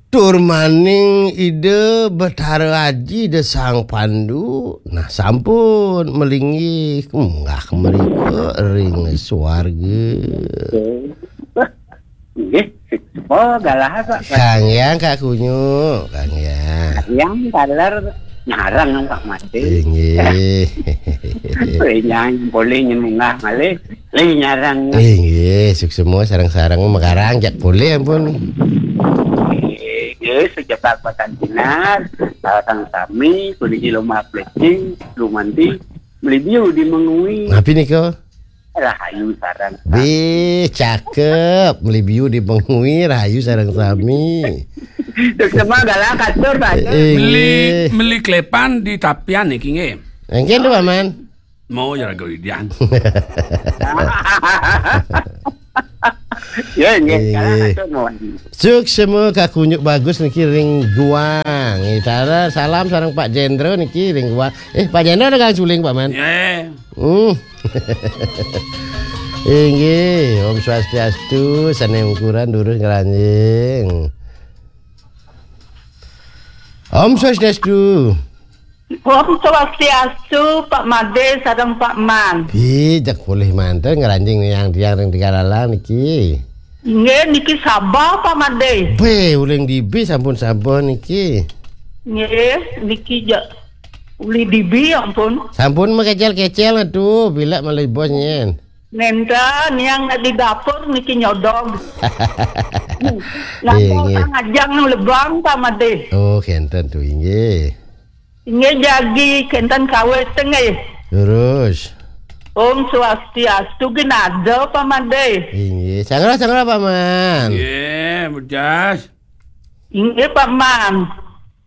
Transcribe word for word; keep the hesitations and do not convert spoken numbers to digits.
Tur maning Ida Betara Aji, Ida Sang Pandu, nah, sampun melinggih munggah mrika ring swarga. Nggih, oh, galah, Pak. Kang Yang, Kak Kunyuk, Kang Yang. Yang taler nyarang, Pak Made. Inggih. Yang boleh nyemunggah malih, lih nyarang. Inggih, suksma sareng-sareng makarang jak polih ampun. Inggih, sejebak patan dinas, sareng sami, puniki lumah plecing, lumanti, melibiu di mengui. Napi nika? Rahayu sareng. Bih, cakep. Melibiu di mengui, rahayu sareng sami. Suksma galah katur, Pak. Inggih. Meli, meli klepan di tapian niki nggih. Engken to, Paman. Mau ya raga idian. Ya, nggih, Inggih. Galah katur mawon. Suksma Kak Kunyuk Bagus niki ring Guang. Nggih, tara salam sareng Pak Jendra niki ring Guang. Eh, Pak Jendra ada kang suling, Paman. Nggih. Hmm. Inggih, Om Swastiastu, sane ungkuran durus ngranjing. Om Swastiastu. Om Swastiastu, Pak Made sareng Pak Man. Ih, jak polih manten ngranjing yang tiang ring Tegalalang niki. Nggih, niki Sabah, Pak Made. Be, uling dibi sampun Sabah niki. Nggih, niki ja-, uli dibi, ampun. Sampun makecel-kecel tuh, bila malih bos nyen. Nenten yang di dapur niki nyodog. Nggih, nggih. Ngajang lebang, Pak Made. Oh, kenten tuh, inggih. Inggih jagi kenten kawit nggih. Terus. Om Swastiastu, ginada, Pak Made. Inggih, sangra, sangra, Pak Man. Nggih, mudas. Inggih, Pak Man.